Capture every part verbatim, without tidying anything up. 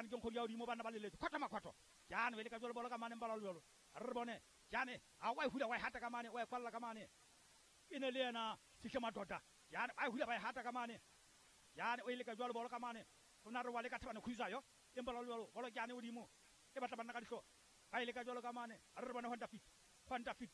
jane ke nkgodi ya godimo banna ba leletse khotho makhotho jane be le ka jalo bolo ka mane mbala jalo re bone jane a wa e hula wa e hata ka mane wa e kwalla ka mane e ne le yena Sihle Madota jane ba e hula ba e hata ka mane jane o ile ka jalo bolo ka mane go na re wa le ka Thabane Khuzwayo empa la jalo bolo jane godimo e batla banna ka dihlo ba ile ka jalo ka mane re bone Honda Fit Honda Fit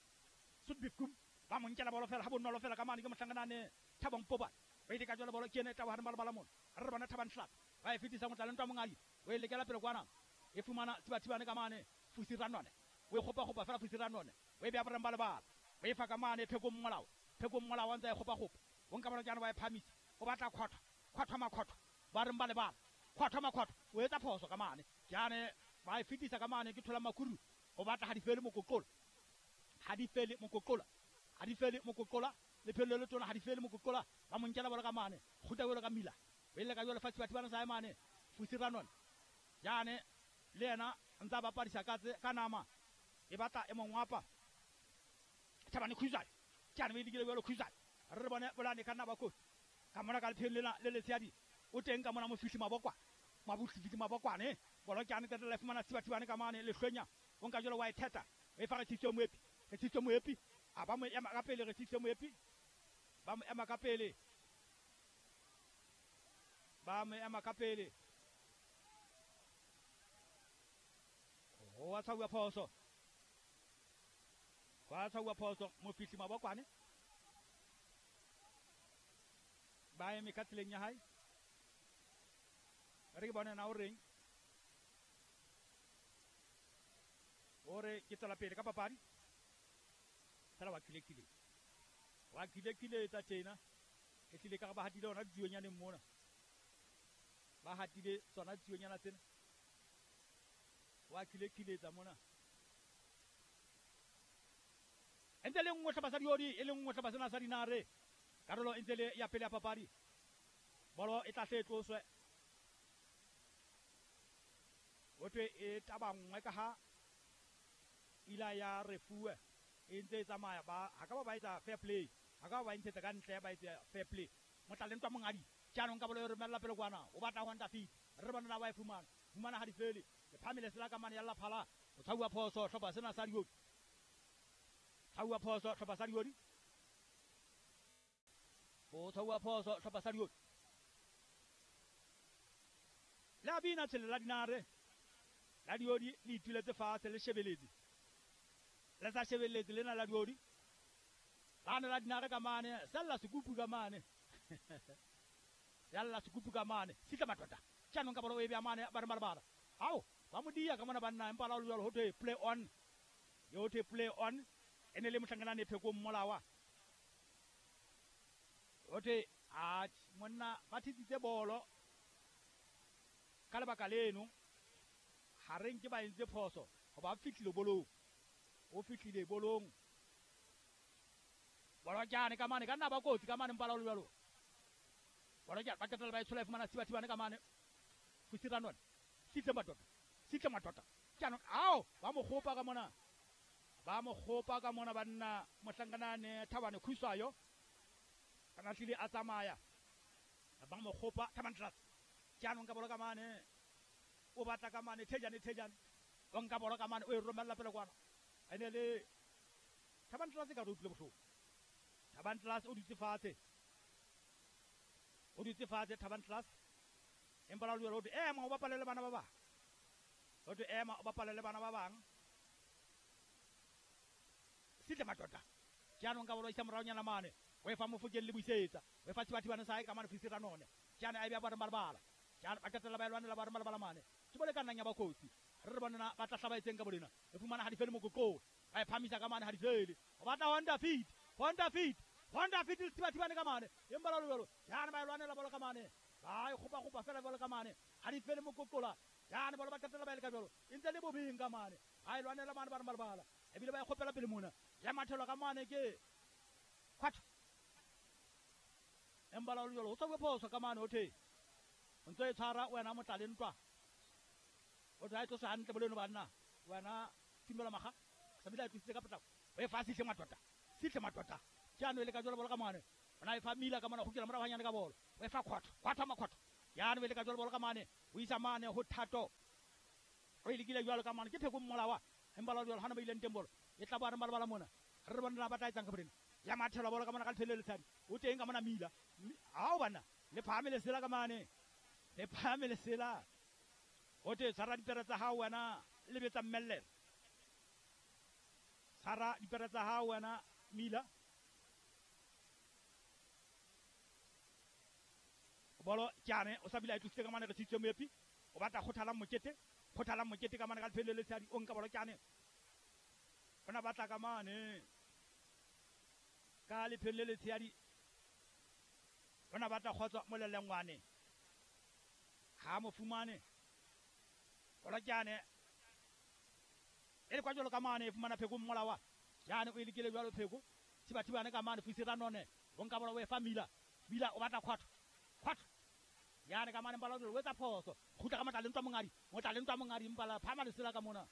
Sudbikum ba mo nkela bolo fela ha bonolo fela ka mane ke mohlanganane Thabang Poba ba ile ka jalo bolo ke ene tla wa re bala mona re bone Thabang Hlap ba e fetisa motla le ntwa mongadi o e lekela pele kwana e fumana Thibathibane ka mane Fusi Ranone o e kgopa kgopa fela Fusi Ranone o e bea boreng ba lebala o e fa ka mane Phekong Molao Phekong Molao ntse e kgopa kgopa o nka bolo jana ba e phamisa o batla khotho khotho makhotho ba reng ba lebala khotho makhotho o etsa phoso ka mane jane ba e fetisa ka mane ke thola Makuru o batla ha di fele mokoqola ha di fele mokoqola ha di fele mokoqola le phelo le tona ha di fele mokoqola ba mo nkela bolo ka mane kguta bolo ka mila o ile ka jalo fa Thibathibane sa mane Fusi Ranone jane le yena ntsa bapadisa ka tse ka nama e batla e mongwapa Thabane Khuzwayo jane be dikile jalo Khuzwayo re bone bolane ka nna ba kotsi ka mona ka lephelo lena le letshadi o teng ka mona Mofihli Mabokwa Mabofihli Mabokwane bolo jane ka tla fumana Thibathibane ka mane le hlwenya o nka jalo wa e theta e fa re Tshitso Moepi re Tshitso Moepi a ba mo ema ka pele re Tshitso Moepi ba mo ema ka pele ba mo ema ka pele ho tshauwa phoso wa tshauwa phoso Mofihli Mabokwane ba eme ka tseleng ya hae re ke bone na o reng o re ke tswela pele ka papadi fela wa khilekile wa khilekile tsa tjena e tlile ka ba hatile ona dionyane mona ba hatile tsona dionyana tsena wa khilekile tsa mona ntse le nngwe hlopha sa diodi e le nngwe hlopha sena sa dinare karolo e ntse le ya pele ya papadi bolo e tla hle tloswe ho thwe e taba nngwe ka ha ila ya refuwe e ntse e tsamaya ba ha ka ba ba etsa fair play ha ka ba ba ntshetsa ka ntle ba etsa fair play motla le ntwa mongadi jaanong ka bolo e romella pele kwana o batla Honda Fit re bona na wa e fumana fumana ha di fele le phamile sela ka mane ya laphala o tshauwa phoso hlopha sena sa diodi tshauwa phoso hlopha sa diodi o tshauwa phoso hlopha sa diodi la bina tshele la dinare la diodi le ituletse fatshe le shebeletse le sa shebeletse lena la diodi bana la dinare ka mane sella sekupu ka mane sella sekupu ka mane Sihle Madota jaanong ka bolo e bea mane ba re malabala ao ba mo dia ka mona banna empa la o jalo ho thwe play on yo thwe play on e ne le mohlanganane Phekong Molawa ho thwe a monna ba thitsitse bolo ka lebaka leno ha re nke ba entse phoso ho ba fihlile bolong o fihlile bolong bolo jane ka mane ka nna ba kotsi ka mane mpala o jalo bolo jane ba qetella ba e tshola e fumana Thibathibane ka mane Fusi Ranone Sihle Madota Sihle Madota jaanong ao ba mo kgopa ka mona ba mo kgopa ka mona banna mohlanganane Thabane Khuzwayo kana tlile a tsamaya ba mo kgopa Thabane Tlatse jaanong ka bolo ka mane o batla ka mane Thejane Thejane o nka bolo ka mane o e romella pele kwana ene le Thabane Tlatse ka re utlwile bohloko Thabane Tlatse o dutse fatshe o dutse fatshe Thabane Tlatse empa la o thwe ema o bapale le bana ba bang o thwe ema o bapale le bana ba bang Sihle Madota jaanong ka bolo isa moraonyana mane o e fa Mofokeng le Buisetsa o e fa Thibathibane sa hae ka mane Fusi Ranone jaanong a e bea ba re malabala jaanong ba qetella ba e lwanela ba re malabala mane ke bole ka nnang ya ba kotsi re re bonena ba tla hlaba etseng ka bolena e fumana ha di fele mokoqola ba e phamisa ka mane ha di fele o batla Honda Fit Honda Fit Honda Fit le Thibathibane ka mane empa la jalo jaanong ba e lwanela bolo ka mane ba e kgopa kgopa fela bolo ka mane ha di fele mokoqola jaanong bolo ba qetella ba e le ka jalo e ntse le bobeng ka mane ba e lwanela mane ba re malabala ebile ba e kgopela pele mona ya mathelwa ka mane ke khwatho empa la jalo o tswa phoso ka mane ho thwe o ntse e tshwara wena motla le ntwa o tla e tlosa hantle boleno banna wena Timela Maga sa bile a tlositse ka potlako o e fa Sihle Madota Sihle Madota jaanong e le ka jalo bolo ka mane o na e fa Mila ka mona go kela morago hanyane ka bolo o e fa khwatho khwatho makhwatho Yane o ile ka jwalo bolo ka mane o isa mane ho Thato o ile kile jwalo ka mane ke Pheko Mmolawa empa la jwalo hana ba ileng teng bolo e tla ba re malabala mona re re bona ba tla etsang ka borena ya mathela bolo ka mona ka lefele le tshadi o teng ka mona mila ha o bana le phahame lesela ka mane le phahame lesela o te tshwara dipere tsa hao wena le betsa mmellele tshwara dipere tsa hao wena mila bolo tjane o sa bile a tlositse ka mane re tshitse moepi o batla kgothala mokete kgothala mokete ka mane ka lefele le tshadi o nka bolo tjane ona batla ka mane ka lefele le tshadi ona batla kgotsa molelengwane ha mo fumane bolo tjane e le kwa jwalo ka mane e fumana Pheko Mmolawa jane o e lekile jwalo Pheko thibathibane ka mane Fusi Ranone o nka bolo o e fa Mila Mila o batla kgotsa kgotsa yane ka mane mpala o etsa phoso kgutla ka matla le ntwa mongadi motla le ntwa mongadi mpala phama lesela ka mona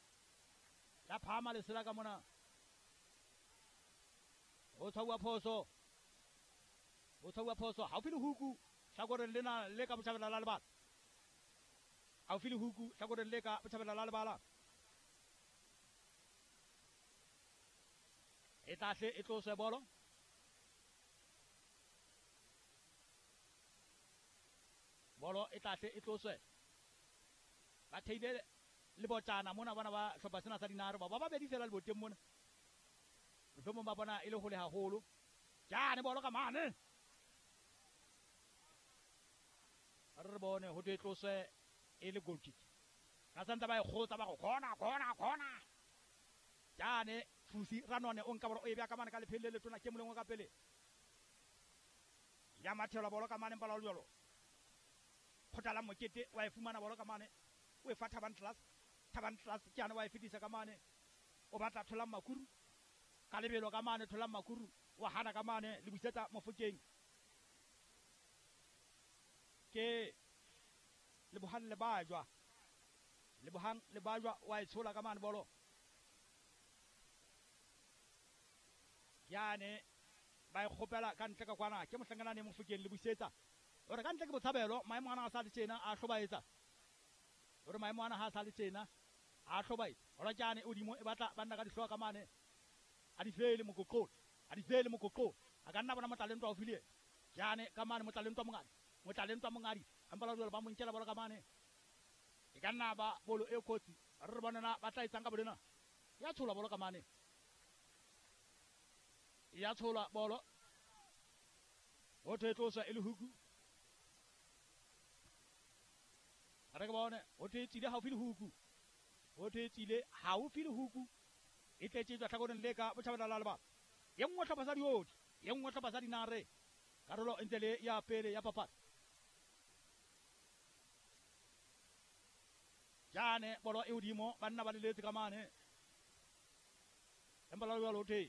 la phama lesela ka mona o tshwauwa phoso o tshwauwa phoso haufi le huku hlakoreng lena le ka botjhabela la lebala haufi le huku hlakoreng le ka botjhabela la lebala e tlahle e tloswe bolo bolo e tlahle e tloswe ba theile le botjana mona bona ba hlopha sena sa Dinare ba ba babedi fela le boteng mona mohlomong ba bona e le hole haholo jane bolo ka mane re bone ho twe tloswe e le goal kick ka santse ba e kgotsa ba go khona khona khona jane Fusi Ranone o nka bolo o e bea ka mane ka lephele le tona ke molengwe ka pele ya mathela bolo ka mane mpala jwalo kgothala mokete wa e fumana bolo ka mane o e fa Thabang Class Thabang Class ke ana wa e fetisa ka mane o batla Tholang Makuru ka lebelo ka mane Tholang Makuru wa hana ka mane le busetsa Mofokeng ke Lebohang Lebajwa Lebohang Lebajwa wa e tshola ka mane bolo yane ba e kgopela ka ntle ka kwana ke mohlankanane Mofokeng le busetsa ore ka ntle ke botshabelo maemo ana a sa le tjena a hlobaetsa ore maemo ana ha sa le tjena a hlobaetsa hora tjane o dimo e batla banna ka dihloka ka mane a di fele mokoqo a di fele mokoqo a ka nna bona motlalentwa o file jane ka mane motlalentwa mongadi motlalentwa mongadi empa la jwalo ba mo nkela bolo ka mane e ka nna ba bolo e kotsi re bona na ba tla etsang ka bolena ya tshola bolo ka mane ya tshola bolo ho thwe tloswa e le huku re ke bone ho thwe tsile haufi le huku ho thwe tsile haufi le huku e tletse tswa tlhakoreng le ka botjhabela la lebala ye nngwe hlopha sa Diodi ye nngwe hlopha sa Dinare karolo e ntse le ya pele ya papadi jane bolo e hodimo banna ba leletse ka mane empa la jwalo thwe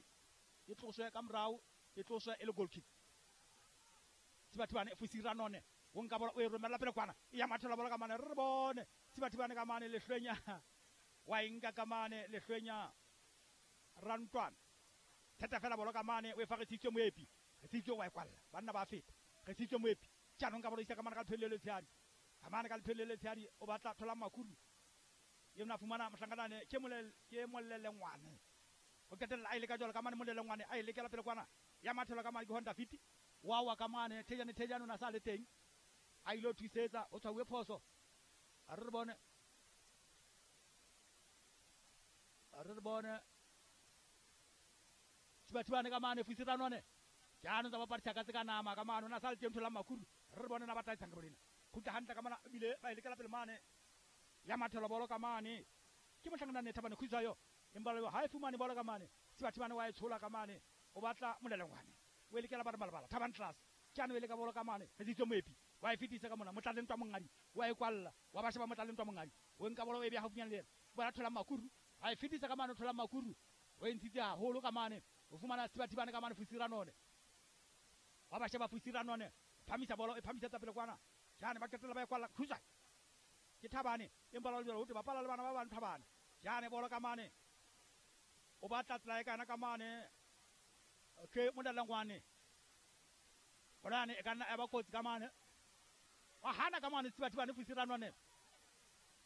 e tloswe ka morao e tloswe e le goal kick Thibathibane Fusi Ranone o nka bolo o e romella pele kwana e ya mathela bolo ka mane re bone Thibathibane ka mane lehlwenya wa e nka ka mane lehlwenya Rantwana theta fela bolo ka mane o e fa re tshitswe moepi re tshitswe wa e kwalla banna ba feta re tshitswe moepi tjanong ka bolo isa ka mane ka lefele le tshadi ka mane ka lefele le tshadi o batla thola Makuru ye mna fumana mohlankanane ke molele ke molelengwane o qetella a ile ka jwalo ka mane molelengwane a ile kela pele kwana ya mathela ka mane ke Honda Fit wa wa ka mane Thejane Thejane o na sa le teng a ile thusetsa o tshwauwe phoso a re re bone a re re bone Thibathibane ka mane Fusi Ranone jaanong tsa bapadi tshaka tse ka nama ka mane o na sa le teng Tholang Makuru re re bone na ba tla etsang ka bolena khutla hantle ka mana ebile ba ile kela pele mane ya mathela bolo ka mane ke mohlankanane Thabane Khutsayo empa le ha e fumane bolo ka mane Thibathibane wa e tshola ka mane o batla molelengwane o e lekela ba re malabala Thabang Class tjane o e leka bolo ka mane re tsitse moepi wa e fetisa ka mona motlalentwa mongadi wa e kwalla wa ba sheba motlalentwa mongadi o nka bolo o e beha haufinyana le yena bona Tholang Makuru a e fetisa ka mane Tholang Makuru o e ntshitse haholo ka mane o fumana Thibathibane ka mane Fusi Ranone wa ba sheba Fusi Ranone phamisa bolo e phamisetsa pele kwana jane ba qetella ba e kwalla Khutsa ke Thabane empa la jwalo ho te bapala le bana ba bang Thabane jane bolo ka mane o batla tsela e kana ka mane ke molelengwane bolane e ka nna ya ba kotsi ka mane Wa hana ka mane Tsibatibane Fusiranwane.